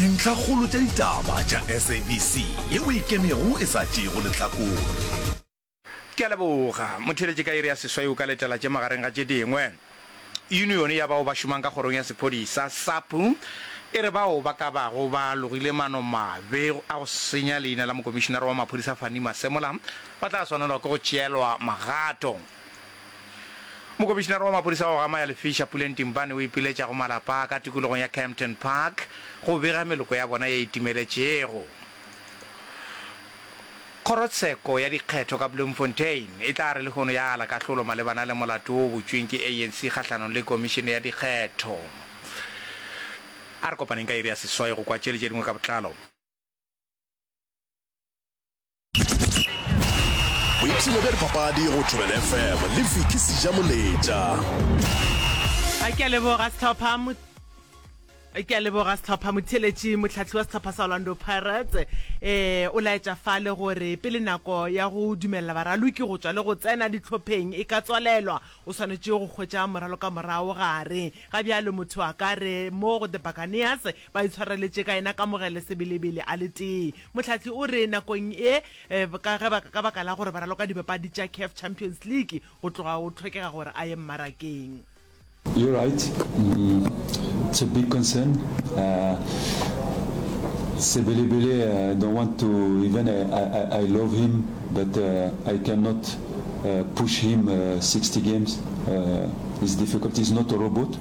Dintlhakgolo tša ditaba tša SABC yeo e ikemego e sa tšeego lehlakore. Ke a leboga. Motheeletši ka iri ya seswai o ka letela tše magareng ga tše dingwe. Yunione ya bao ba šomang ka kgorong ya sephodisa, SAPU, e re bao ba ka bago ba logile manomabe a go senya leina la mokomišinara wa maphodisa Fannie Masemola ba tla swanelwa ke go tšeelwa magato. Mokomišinara wa maphodisa wa go gama ya Lefisha, Puleng Timpane o ipiletša go malapa a ka tikologong ya Kempton Park go bega meloko ya bona ye e timeletšego. Kgorotsheko ya dikgetho ka Bloemfontein e tla re lehono ya ala kahlolo malebana le molato wo o butšweng ke ANC kgahlanong le komišene ya dikgetho. A re kopaneng ka iri ya seswai go kwa tše le tše dingwe ka botlalo. Boipshino bja dipapadi go Thobela FM le Vicky Sejamoletša. A ke a leboga sehlopha Ke a leboga sehlopha. Motheeletši, mohlahli wa sehlopha sa Orlando Pirates eh, o laetša fale gore pele nako ya go dumelela baraloki go tšwa le go tsena dihlopheng e ka tswalelwa, o swanetše go hwetša moralokamorago gare. Ga bjalo motho a ka re mo go The Buccaneers ba itshwareletše ka yena Kamogelo Sebelebele a le tee. Mohlahli o re nakong ye eh, ka ge ba, ka baka la gore ba raloka dipapadi tša CAF Champions League go tloga go hlokega gore a ye mmarakeng. You're right, it's a big concern. Uh, Sebelebele, I don't want to even I, I, I love him, but uh, I cannot uh, push him uh, 60 games. Uh, it's difficult. He's not a robot.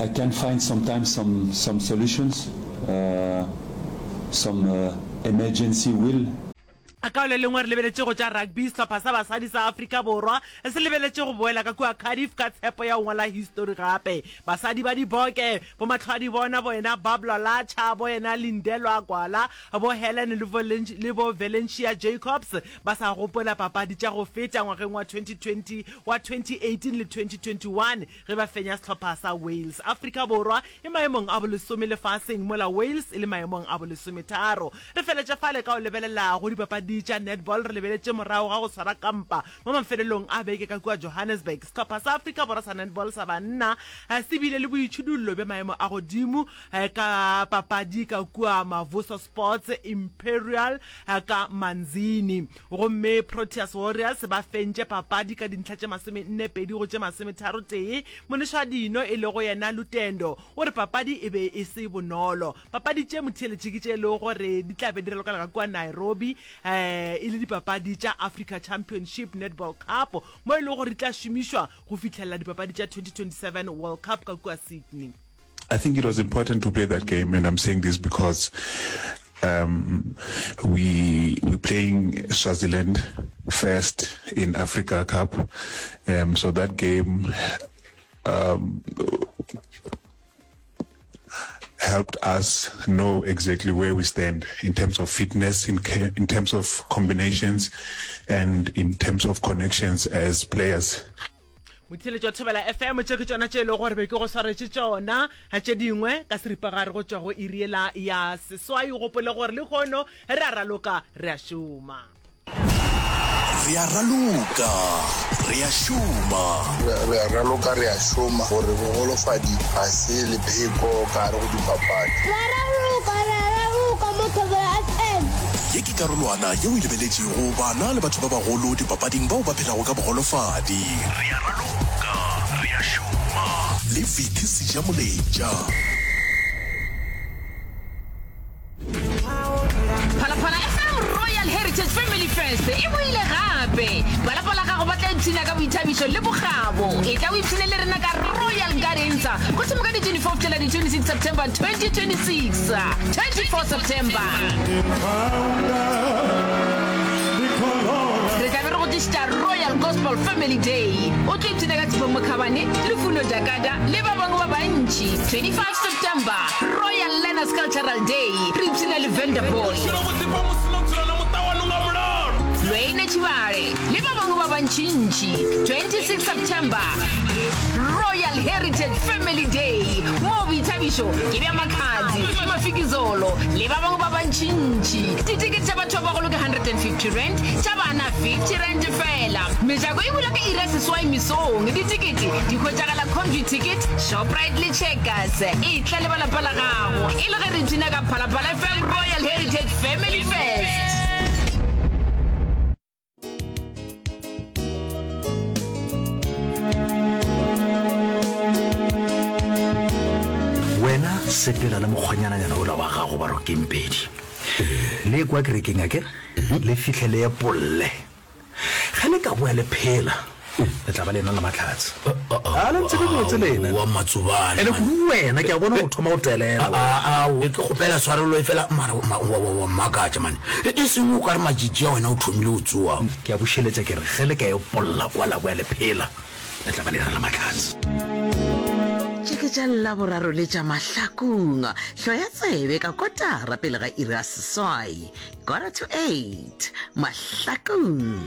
I can find sometimes some some solutions, uh, some uh, emergency will. Ka le lengwe re lebeletše go tša rugby, sehlopha sa basadi sa Afrika Borwa se lebeletše go boela ka kua Cardiff ka tshepo ya go ngwala histori gape. Basadi ba Diboke, bomahlwadibona bo ena Bablwa Latsha, bo ena Lindelwa Gwala, bo Helen le bo Valencia Jacobs ba sa gopola papadi tša go feta ngwageng wa 2020, wa 2018 le 2021 ge ba fenya sehlopha sa Wales. Afrika Borwa e maemong a bolesome lefaseng mola Wales e le maemong a bolesometharo. Re feletše fale ka go lebelela go dipapadi tša netball re lebeletše morago ga go swara kampa mo mafelelong a beke ka kua Johannesburg. Sehlopha sa Afrika Borwa sa netball sa banna se bile le boitšhidullo bja maemo a godimo ka papadi ka kua Mavuso Sports Imperial ka Manzini gomme Proteas Warriors ba fentše papadi ka dintlha tše masomennepedi go tše masometharotee. Monešadino e lego yena Lutendo o re papadi e be e se bonolo. Papadi tše motheeletši ke tše e lego gore di tla be di ralokela ka kua Nairobi e le dipapadi tša Africa Championship Netball Cup mo e lego gore di tla šomišwa go fihlelela dipapadi tša 2027 World Cup ka kua Sydney. I think it was important to play that game and I'm saying this because um, we we're playing Swaziland first in Africa Cup um, so that game um, helped us know exactly where we stand in terms of fitness, in, in terms of combinations, and in terms of connections as players. Motheeletši wa Thobela FM, tše ke tšona tše e lego gore be ke go swaretše tšona, tše dingwe ka seripagare go tšwa go iri yela ya seswai. O gopole gore lehono re a raloka, re a šoma. Re a raloka, re a šoma. Re a raloka, re a šoma gore bogolofadi ga se lepheko ka gare go dipapadi. Re a raloka, re a raloka mo Thobela FM. Ye ke karolwana yeo e lebeletšego bana le batho ba bagolo dipapading bao ba phelago ka bogolofadi. Re a raloka, re a šoma. Le Vicky Sejamoletša. Phalaphala FM Royal Heritage Family Fest e boile gape. Ba lapa la gago ba tla ipshina ka boithabišo le bokgabo. Etla o ipshine le rena ka Royal Gardens go thoma ka di 24 go fihlela di 26 September 2026. 24 September. Re tla be re go tlišetša Royal Gospel Family Day. O tlo ipshina ka Tshepo Mokhabane, Lufuno Jakada le ba bangwe ba bantši. 25 September, Royal Learners Cultural Day, re ipshina le Venderboy, Lwene Tshibale le ba bangwe ba bantšintši. 26 September, Royal Heritage Family Day, moo boithabišo ke bja Makhadzi, Mafikizolo le ba bangwe ba bantšintši. Ditekete tša batho ba bagolo ke R150, tša bana R50 feela. Mejako e bula ka iri ya seswai mesong. Ditekete di hwetšagala Computicket, Shoprite le Checkers. Etla le ba lapa la gago. Gomme re ipshina ka Phalaphala FM Royal Heritage Family Fest. Wena sepela le mokgwanyananyana ola wa gago ba Rokengpedi. Le kwa kerekeng akere? Le fihle le epolle. Ge le ka boa le phela, le tla ba le ena le mahlatse. A le ntsebe botse lena. Wa Matsobane. Ene kudu wena, ke a bona o thoma go telela. A, a, ke kgopela tshwarelo efela mara wa, wa, wa mmakatša mane. E seng o ka re matšatši a wena o thomile go tsoa. Ke a bušeletša ke re ge le ka epolla kwa la boa le phela, le tla ba le ena le mahlatse. Tše ke tša Laboraro le tša Mahlakung. Hloya tsebe ka kotara pele ga iri ya seswai. Quarter to 8. Mahlakung.